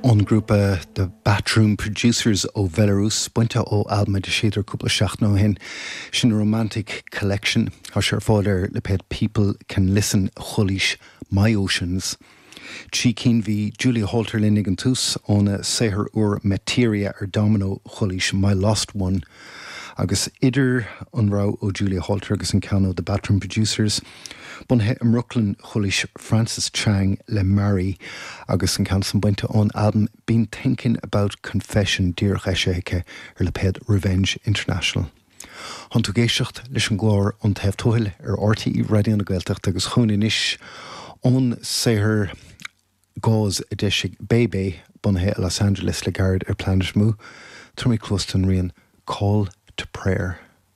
Ón ngrúpa The Batroom Producers ó Bhelarús, bainte ó albam a d'eisíodar cúpla seachtain ó shin, sin Romantic Collection. Tá sé ar fáil ar lipéad People Can Listen Chualaís My Oceans. Trí cinn bhí Julia Holter linn ag an tús, óna saothar úr Materia ar Domino chualaís My Lost One. Agus idir an rogha ó Julia Holter agus an ceann ó The Batroom Producers, bunaithe i mBrooklyn, chualaís Frances Chang le Mary agus an ceann san bainte ón albam Been Thinking About Confession díreach eisithe aici ar lipéad Revenge International. Tánn tú ag éisteacht leis an gclár Ón Taobh Tuathail ar RTÉ Raidió na Gaeltachta agus chugainn anois ón saothar Gauze a d'eisigh Bebe, bunaithe i Los Angeles le gairid ar Planet Mu, tabharfaimid cluas don rian Call to Prayer.